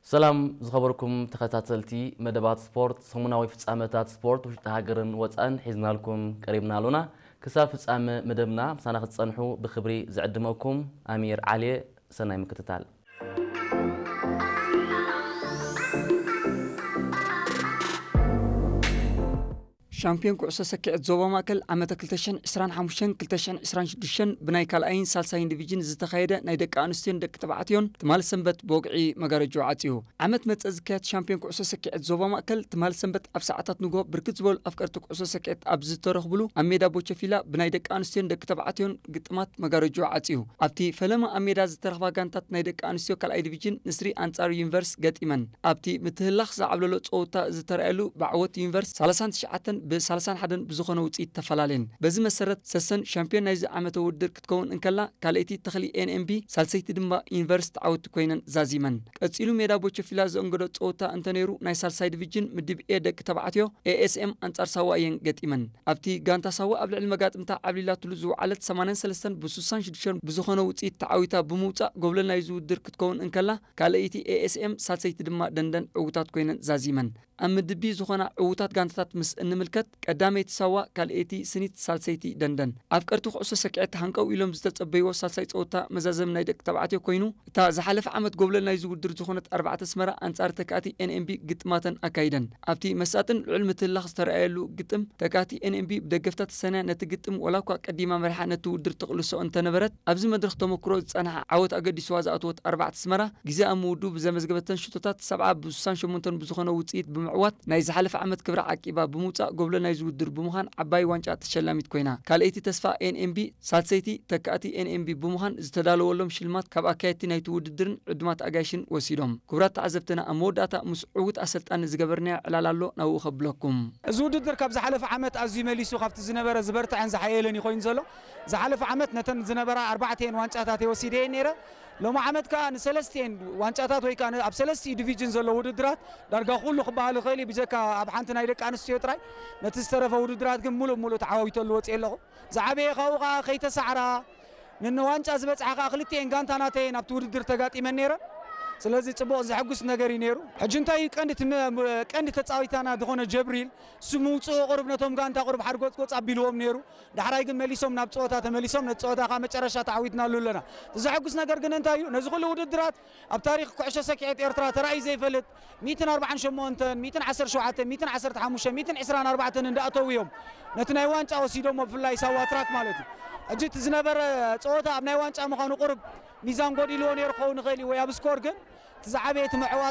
ሰላም ዝኸበርኩም ተኸታተልቲ መደባት ስፖርት፣ ሰሙናዊ ፍጻመታት ስፖርት ውሽጢ ሃገርን ወጻእን ሒዝናልኩም ቀሪብና ኣሎና። ክሳብ ፍጻመ መደብና ምሳና ክትጸንሑ ብኽብሪ ዝዕድመኩም ኣሚር ዓሊየ። ሰናይ ምክትታል። ሻምፒዮን ኩዕሶ ሰኪዐት ዞባ ማእከል ዓመተ ክልተ ሽሕን ዕስራን ሓሙሽተን ክልተ ሽሕን ዕስራን ሽዱሽተን ብናይ ካልኣይን ሳልሳይን ዲቪዥን ዝተኻየደ ናይ ደቂ ኣንስትዮን ደቂ ተባዕትዮን ትማል ሰንበት ብወግዒ መጋረጆ ዓጽዩ። ዓመት መጸ ዝካየድ ሻምፒዮን ኩዕሶ ሰኪዐት ዞባ ማእከል ትማል ሰንበት ኣብ ሰዓታት ንግሆ ብርክት ዝበሉ ኣፍቀርቲ ኩዕሶ ሰኪዐት ኣብ ዝተረኽብሉ ኣብ ሜዳ ቦቸፊላ ብናይ ደቂ ኣንስትዮን ደቂ ተባዕትዮን ግጥማት መጋረጆ ዓጽዩ። ኣብቲ ፈለማ ኣብ ሜዳ ዝተረኽባ ጋንታት ናይ ደቂ ኣንስትዮ ካልኣይ ዲቪዥን ንስሪ ኣንጻር ዩኒቨርስ ገጢመን። ኣብቲ ምትህላኽ ዝዓብለሎ ጸወታ ዝተረኣየሉ ብዓወት ዩኒቨርስ ሰላሳን ትሽዓተን ብ ሰላሳን ሓደን ብዝኾነ ውጽኢት ተፈላለየን። በዚ መሰረት ሰሰን ሻምፒዮን ናይዚ ዓመተ ውድድር ክትከውን እንከላ፣ ካልኣይቲ ተኽሊ ኤን ኤም ቢ፣ ሳልሰይቲ ድማ ዩኒቨርስ ተዓወቲ ኮይነን ዛዚመን። ቀጺሉ ሜዳ ቦቸፊላ ዘእንገዶ ጸወታ እንተነይሩ፣ ናይ ሳልሳይ ዲቪዥን ምድብ ኤ ደቂ ተባዕትዮ ኤ ኤስ ኤም ኣንጻር ሳዋ እየን ገጢመን። ኣብቲ ጋንታ ሳዋ ኣብ ልዕሊ መጋጥምታ ዓብሊላትሉ ዝወዓለት ሰማንያን ሰለስተን ብስሳን ሽዱሽተን ብዝኾነ ውጽኢት ተዓዊታ ብምውጻእ ጎብለል ናይዚ ውድድር ክትከውን እንከላ፣ ካልኣይቲ ኤ ኤስ ኤም፣ ሳልሰይቲ ድማ ደንደን ዕዉታት ኮይነን ዛዚመን። ኣብ ምድብ ቢ ዝኾና ዕዉታት ጋንታታት ምስ እንምልከት፣ ቀዳመይቲ ሳዋ፣ ካልኣይቲ ስኒት፣ ሳልሰይቲ ደንደን። ኣፍቀርቲ ኩዕሶ ሰኪዐት ሃንቀው ኢሎም ዝተጸበይዎ ሳልሳይ ጸወታ መዛዘሚ ናይ ደቂ ተባዕትዮ ኮይኑ፣ እታ ዝሓለፈ ዓመት ጎብለል ናይዚ ውድድር ዝኾነት ኣርባዕተ ኣስመራ ኣንጻር ተካእቲ ኤን ኤም ቢ ግጥማተን ኣካይደን። ኣብቲ መሳጥን ልዑል ምትህልላኽ ዝተረኣየሉ ግጥም፣ ተካእቲ ኤን ኤም ቢ ብደገፍታ ተሰንያ ነቲ ግጥም ዋላ እኳ ቀዲማ መሪሓ ነቲ ውድድር ትቕልሶ እንተነበረት፣ ኣብዚ መድረኽ ተመክሮ ዝጸንሓ ዓወት ኣገዲስዋ ዝኣተወት ኣርባዕተ ኣስመራ፣ ግዜ ኣብ ምውድኡ ብዘመዝገበተን ሽቶታት ሰብዓ ብስሳን ሸሞንተን ብዝኾነ ውጽኢት ብምዕዋት ናይ ዝሓለፈ ዓመት ክብራ ዓቂባ ብምውጻእ ጎብለል ናይዚ ውድድር ብምዃን ዓባይ ዋንጫ ተሸላሚት ኮይና። ካልኣይቲ ተስፋ ኤን ኤም ቢ፣ ሳልሰይቲ ተካእቲ ኤን ኤም ቢ ብምዃን ዝተዳለወሎም ሽልማት ካብ ኣካየድቲ ናይቲ ውድድርን ዕዱማት ኣጋይሽን ወሲዶም። ክቡራት ተዓዘብትና፣ ኣብ መወዳእታ ምስ ዕዉት ኣሰልጣኒ ዝገበርናዮ ዕላል ኣሎ፣ ናብኡ ከብለኩም። እዚ ውድድር ካብ ዝሓለፈ ዓመት ኣዝዩ መሊሱ ካብቲ ዝነበረ ዝበርትዐን ዝሓየለን እዩ ኮይኑ ዘሎ። ዝሓለፈ ዓመት ነተን ዝነበራ ኣርባዕተን ዋንጫታት እየ ወሲደየን ነይረ። ሎሚ ዓመት ከኣ ንሰለስቲኤን ዋንጫታት ወይ ከኣ ኣብ ሰለስቲኡ ዲቪዥን ዘሎ ውድድራት ዳርጋ ኩሉ ክበሃል ይኽእል እዩ፣ ብጀካ ኣብ ሓንቲ ናይ ደቂ ኣንስትዮ ጥራይ ነቲ ዝተረፈ ውድድራት ግን ሙሉእ ሙሉእ ተዓዋዊተሉ ወፅየ ኣለኹ። ዝዓበየ ካብኡ ከኣ ከይተሳዕራ ንንዋንጫ ዝበፅሓ ከኣ ክልቲኤን ጋንታ ናተየን ኣብቲ ውድድር ተጋጢመን ነይረን። ስለዚ ፅቡቕ ዘሐጉስ ነገር እዩ ነይሩ። ሕጂ እንታይ እዩ ቀንዲ ትም-፣ ቀንዲ ተፃዊታና ዝኾነ ጀብሪል እሱ ምውፅኡ ቁሩብ ነቶም ጋንታ ቁሩብ ሓርጎፅጎፅ ኣቢልዎም ነይሩ። ዳሕራይ ግን መሊሶም ናብ ፀወታ ተመሊሶም ነቲ ፀወታ ከኣ መጨረሻ ተዓዊትናሉ ኣለና። እቲ ዘሐጉስ ነገር ግን እንታይ እዩ? ነዚ ኩሉ ውድድራት ኣብ ታሪኽ ኩዕሾ ሰኪዐት ኤርትራ ተራእዩ ዘይፈልጥ ሚእትን ኣርባዓን ሸሞንተን፣ ሚእትን ዓሰርተ ሸውዓተን፣ ሚእትን ዓሰርተ ሓሙሽተን፣ ሚእትን ዕስራን ኣርባዕተን እንዳኣተው እዮም ነቲ ናይ ዋንጫ ወሲዶሞ፣ ብፍላይ ሳዋ ትራክ ማለት እዩ። ሕጂ እቲ ዝነበረ ፀወታ ኣብ ናይ ዋንጫ ምዃኑ ቁሩብ ሚዛን ጎዲልዎ ነይሩ ክኸውን ይኽእል እዩ፣ ወይ ኣብ ስኮር ግን እቲ ዝዓበየ እቲ ምዕዋት